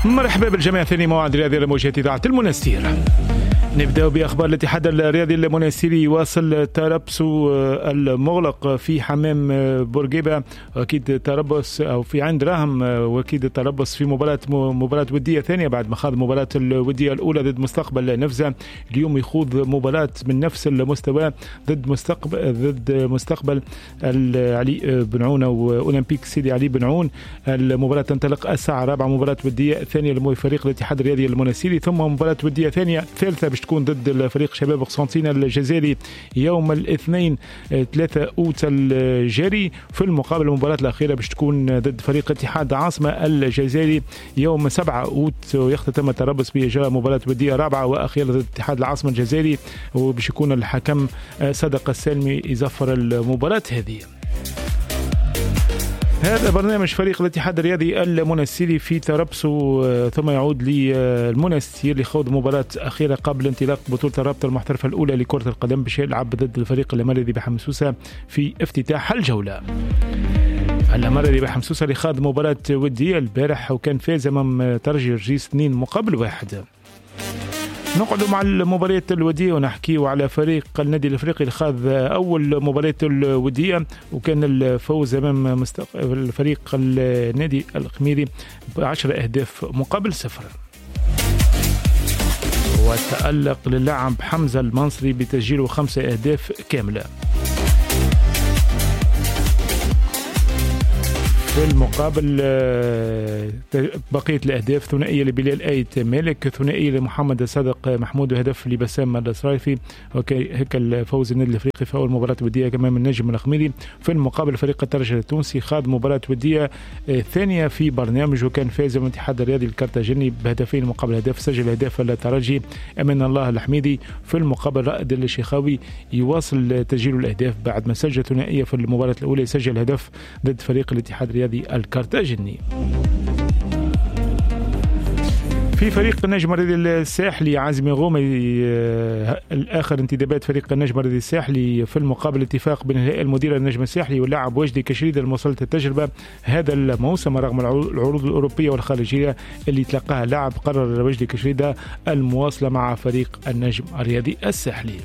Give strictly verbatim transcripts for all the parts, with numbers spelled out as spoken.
مرحبا بالجميع، ثاني موعد رياضي لموجهة إذاعة المنستير. نبدأ بأخبار الاتحاد الرياضي المنستيري. يواصل تربص المغلق في حمام بورقيبة، وأكيد تربص أو في عند راهم، وأكيد التربص في مباراة مباراة ودية ثانية بعد ما خاض مباراة الودية الأولى ضد مستقبل نفزة. اليوم يخوض مباراة من نفس المستوى ضد مستقبل ضد مستقبل علي بن عون وأولمبيك سيدي علي بن عون. المباراة تنطلق الساعة الرابعة، مباراة ودية ثانية لفريق الاتحاد الرياضي المنستيري، ثم مباراة ودية ثانية ثالثة باش تكون ضد الفريق شباب قسنطينة الجزائري يوم الاثنين ثلاثة أوت الجاري. في المقابل المباراة الأخيرة باش تكون ضد فريق اتحاد عاصمة الجزائري يوم سبعة أوت، ويختتم التربص بإجراء مباراة ودية رابعة وأخيرة ضد اتحاد العاصمة الجزائري، وباش يكون الحكم صدق السالمي يزفر المباراة هذه. هذا برنامج فريق الاتحاد الرياضي المنستيري في تربصه، ثم يعود للمنستير لخوض مباراة أخيرة قبل انطلاق بطولة الرابطة المحترفة الأولى لكرة القدم، باش يلعب ضد الفريق الأمريكي بحمسوسة في افتتاح الجولة. الأمريكي بحمسوسة اللي خاض مباراة ودية البارح وكان فاز أمام ترجي رجيس اثنين مقابل واحد. نقعد مع المباريات الودية ونحكي على فريق النادي الافريقي اللي خاض اول مباراة الودية وكان الفوز امام مستق... الفريق النادي الخميري بعشرة اهداف مقابل صفر. وتألق للاعب حمزة المنصري بتسجيله خمسة اهداف كاملة. في المقابل بقية الأهداف ثنائية لبلال آيت مالك، ثنائية لمحمد صادق محمود، وهدف لبسام الصرايفي. هيك الفوز النادي الافريقي في أول مباراة ودية أمام النجم الخميري. في المقابل فريق الترجي التونسي خاض مباراة ودية ثانية في برنامج وكان فاز من الاتحاد الرياضي الكارتاجيني بهدفين مقابل هدف، سجل هدف الترجي أمان الله الحميدي. في المقابل رائد الشيخاوي يواصل تسجيل الأهداف بعد ما سجل ثنائية في المباراة الأولى، يسجل هدف ضد فريق الاتحاد الرياضي الكارتاجيني. في فريق النجم الرياضي الساحلي عازمي غومي الآخر انتدابات فريق النجم الرياضي الساحلي. في المقابل اتفاق بين الهيئة المديرة للنجم الساحلي واللاعب وجدي كشريد الموصلة التجربة هذا الموسم رغم العروض الأوروبية والخارجية اللي تلقاها اللاعب، قرر وجدي كشريدة المواصلة مع فريق النجم الرياضي الساحلي.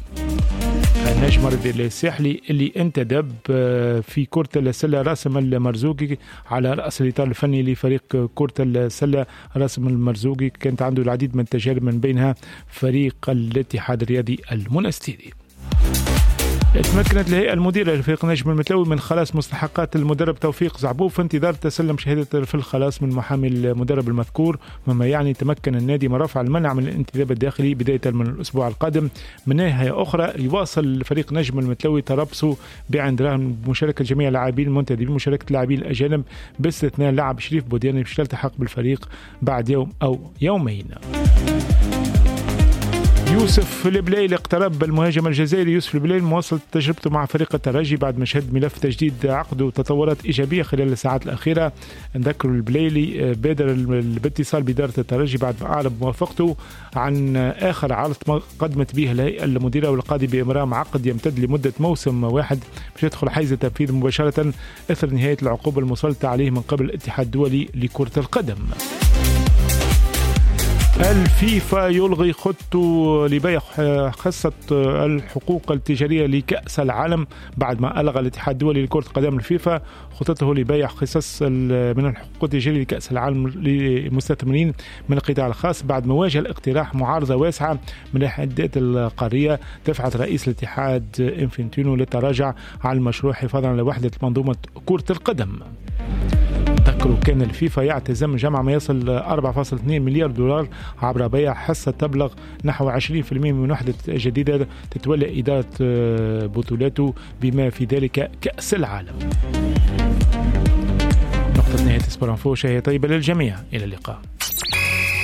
النجم الرياضي الساحلي اللي انتدب في كرة السلة راسم المرزوقي على رأس الإطار الفني لفريق كرة السلة. راسم المرزوقي كانت عنده العديد من التجارب من بينها فريق الاتحاد الرياضي المنستيري. تمكنت الهيئة المديرة لفريق نجم المتلوي من خلاص مستحقات المدرب توفيق زعبوب في انتظار تسلم شهادة في الخلاص من محامي المدرب المذكور، مما يعني تمكن النادي من رفع المنع من الانتداب الداخلي بداية من الأسبوع القادم. من ناحية أخرى يواصل فريق نجم المتلوي تربصه بعند رهن بمشاركة جميع اللاعبين المنتدبين بمشاركة اللاعبين الأجانب باستثناء اللاعب شريف بوديان باش يلتحق بالفريق بعد يوم أو يومين. يوسف البلايلي اقترب المهاجم الجزائري يوسف البلايلي مواصل تجربته مع فريق الترجي بعد ما شهد ملف تجديد عقده وتطورات إيجابية خلال الساعات الأخيرة. نذكر البلايلي بادر باتصال بإدارة الترجي بعد ما أعلن موافقته عن آخر عرض قدمت به الهيئة المديرة والقاضي بإمرام عقد يمتد لمدة موسم واحد باش يدخل حيز التنفيذ مباشرة إثر نهاية العقوبة المسلطة عليه من قبل الاتحاد الدولي لكرة القدم. الفيفا يلغي خطه لبيع حصة الحقوق التجارية لكأس العالم بعد ما ألغى الاتحاد الدولي لكرة القدم الفيفا خطته لبيع حصص من الحقوق التجارية لكأس العالم للمستثمرين من القطاع الخاص بعد ما واجه الاقتراح معارضة واسعة من الاتحادات القارية دفعت رئيس الاتحاد إنفنتينو للتراجع على المشروع حفاظا على وحدة منظومة كرة القدم. تذكروا كان الفيفا يعتزم جمع ما يصل أربعة فاصلة اثنين مليار دولار عبر بيع حصة تبلغ نحو عشرين بالمئة من وحدة جديدة تتولى إدارة بطولاته بما في ذلك كأس العالم. نقطة نهاية Sport Info، شهية طيبة للجميع، إلى اللقاء.